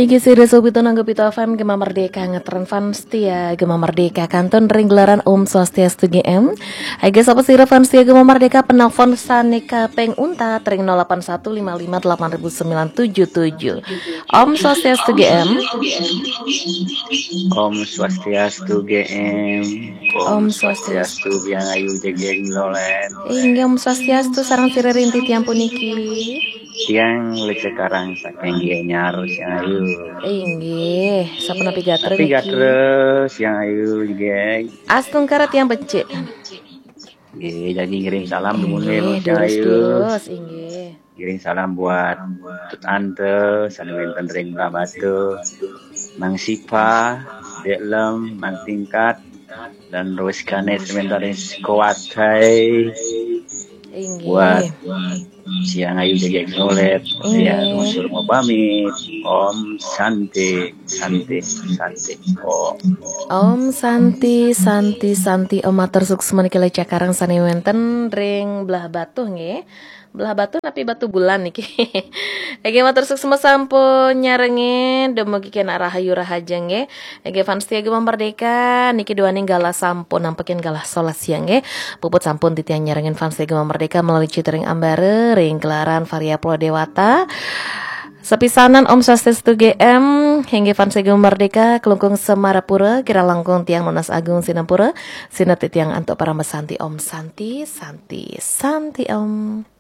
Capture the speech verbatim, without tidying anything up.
Inggih sira sawetara nganggep F M Gema Merdeka, ngetren fans setia Gema Merdeka kantun ring gelaran Om Swastiastu G M. Inggih sapa sira fans setia Gema Merdeka, penelpon sane kaping untat ring nol delapan satu lima lima delapan ribu sembilan tujuh tujuh. Om Swastiastu G M. Om Swastiastu G M. Om Swastiastu. Biang Ayu jegeg lolen. Inggih Om Swastiastu, sareng sira ring titiang puniki. Tiang Lece Karang saking Gianyar, Siang Ayu. Inggih, sapunapi gatra Tapi niki? Gatra, Siang Ayu jegeg. Astungkara tiang becik. Nggih, jadi ngiring salam dumun Inggih, Siang Ayu. durus-durus, inggih. Ngiring salam buat Tut Ante, sane wenten ring Blahbatuh, Mang Sipa, Dek Lem, Mang Tingkat, dan Roskane sementara Sikowatai. Inggih. Buat Siang Ayu jegeg lolet. Inggih. Ya, ngusur mau pamit. Om Santi, Santi, Santi. Om. Om Santi, Santi, Santi. Om, matur suksma niki Lece Karang sane wenten ring Blahbatuh nggih. Blahbatuh napi Batubulan niki. Nggih, matur suksma sampun nyarengin, dumugi kenak rahayu rahaja nggih. Nggih, fans setia Gema Merdeka niki duaning galah sampun nampekin galah solas siang nggih. Puput sampun titiang nyarengin fans setia Gema Merdeka melalui Citering Ambara ring gelaran Varia Pulau Dewata. Sepisanan Om Swastiastu G M, inggih fans Gema Merdeka, Klungkung Semarapura, kirang langkung tiang nunas agung sinampura, sineb titiang antuk parama santi. Om Santi, Santi, Santi Om.